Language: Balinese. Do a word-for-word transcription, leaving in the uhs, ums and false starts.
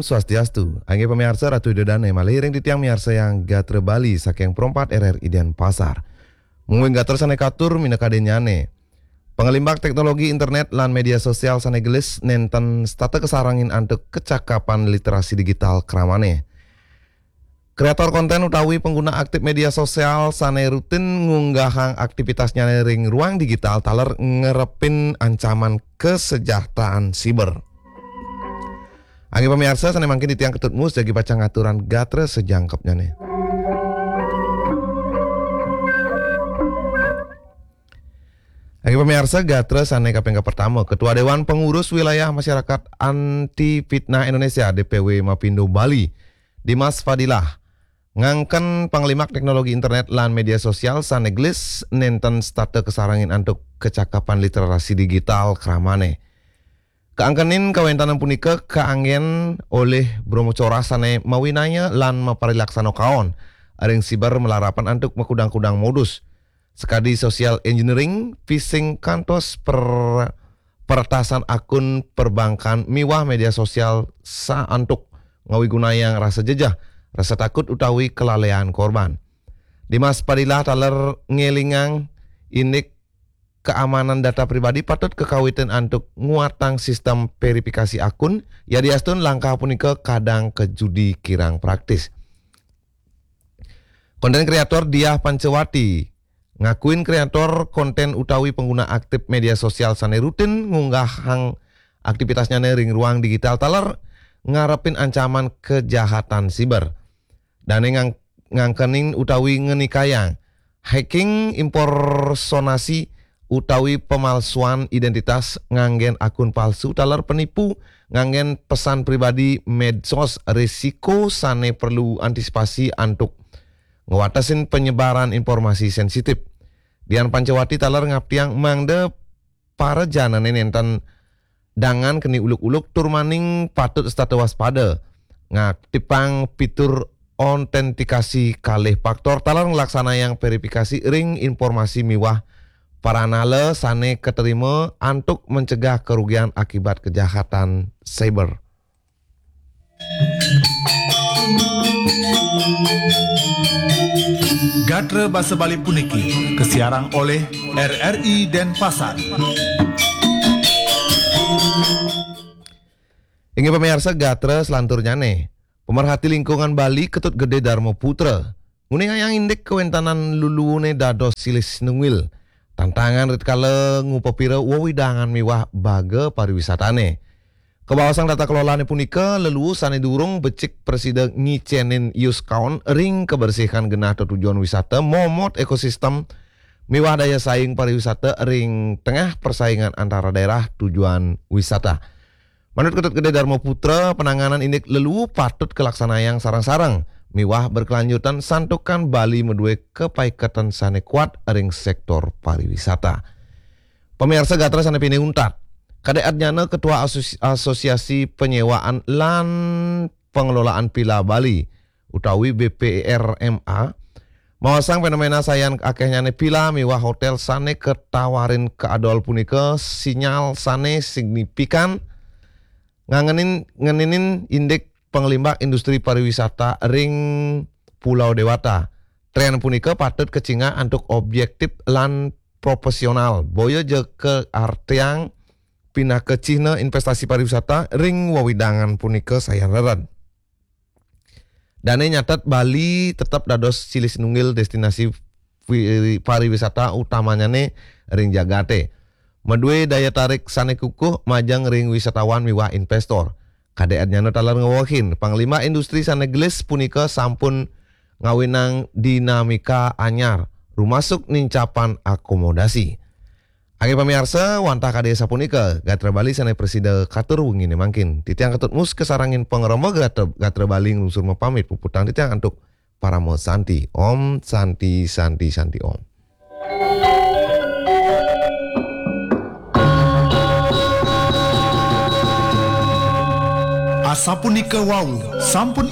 Swastiastu. Inggih pamiarsa, Ratu Ida Dane malih ring titiang miarsayang gatra Bali saking Pro empat R R I Denpasar. Mungguing gatra sane katur minakadinnyane. Pangelimbak teknologi internet lan media sosial sane gelis nenten setata kasarengin antuk kecakapan literasi digital kramane. Kreator konten utawi pengguna aktif media sosial sane rutin ngunggahang aktivitasnyane ring ruang digital taler ngarepin ancaman kesejahteraan siber. Inggih pamiarsa, sane mangkin titiang Ketut Mus jagi pacang ngaturang gatra sajangkepnyane. Inggih pamiarsa, gatra sane kaping kapertama, Ketua Dewan Pengurus Wilayah Masyarakat Anti Fitnah Indonesia, D P W, Mapindo Bali, Dimas Fadilah, ngangken pangelimbak teknologi internet lan media sosial sane gelis nenten setata kasarengin antuk kecakapan literasi digital kramane. Kaangkenin kawentanan punika kaanggen olih brahmacora sane mawinaya lan maparilaksana kaon ring siber malarapan antuk makudang-kudang modus, sakadi social engineering, phishing, kantos per-, peretasan akun perbankan miwah media sosial saantuk ngawigunayang rasa jejeh, rasa takut utawi kalalean korban. Dimas Fadilah taler ngelingang indik keamanan data pribadi patut kakawitin antuk nguatang sistem verifikasi akun, yadiastun langkah punika kadang kajudi kirang praktis. Konten kreator Diah Pancawati ngakuin kreator konten utawi pengguna aktif media sosial sane rutin ngunggahang aktivitasnyane ring ruang digital taler ngarepin ancaman kejahatan siber. Dane ngang-, ngangkenin utawi ngenikayang hacking, impersonasi, utawi pemalsuan identitas nganggen akun palsu taler penipu nganggen pesan pribadi medsos risiko sane perlu antisipasi antuk ngwatesin penyebaran informasi sensitif. Dian Pancawati taler ngaptiang mangda para janane nenten dangan keni uluk-uluk tur maning patut setata waspada. Ngaktifang fitur autentikasi kalih faktor taler nglaksanayang verifikasi ring informasi miwah paranala sane katerima antuk mencegah kerugian akibat kejahatan cyber. Gatra basa Bali puniki kasiarang olih R R I Denpasar. Inggih pamiarsa, gatra selanturnyane, pemerhati lingkungan Bali Ketut Gede Darma Putra nguningayang indik kawentanan luluune dados silih sinunggil tantangan ritkala ngupapira wewidangan miwah baga pariwisatane. Kabaosang tata kelolane punika, leluu sane durung becik prasida ngicenin ius kaon ring kabersihan genah tetujon wisata, momot ekosistem miwah daya saing pariwisata ring tengah persaingan antara daerah tujuan wisata. Manut Ketut Gede Darma Putra, penanganan indik leluu patut kalaksanayang sareng-sareng miwah berkelanjutan santukan Bali madue kapaiketan sane kuat ring sektor pariwisata. Pamiarsa gatra sane pinih untat, Kadek Adnyana, Ketua Asosi-, Asosiasi Penyewaan lan Pengelolaan Villa Bali utawi B P R M A, maosang fenomena sayan akehnyane villa miwah hotel sane katawarin kaadol punika sinyal sane signifikan ngangenin, ngeninin indik pangelimbak industri pariwisata ring Pulau Dewata. Tren punika patut kacingak antuk objektif lan proporsional, boya ja kaartiang pinaka cihna investasi pariwisata ring wewidangan punika sayan rered. Dane nyatet Bali tetep dados silih sinunggil destinasi wi-, pariwisata utamanyane ring jagate. Madue daya tarik sane kukuh majeng ring wisatawan miwah investor. Kadek Adnyana taler ngewehin, pangelimbak industri sane gelis punika sampun ngawinang dinamika anyar, rumasuk nincapan akomodasi. Inggih pamiarsa, wantah kadi sapunika gatra Bali sane prasida katur wengine mangkin. Titiang Ketut Mus kasarengin pangremba gatra, gatra Bali nglungsur mapamit, puputang titiang antuk parama santi. Om Santi, Santi, Santi Om. Asapunika wau, sampun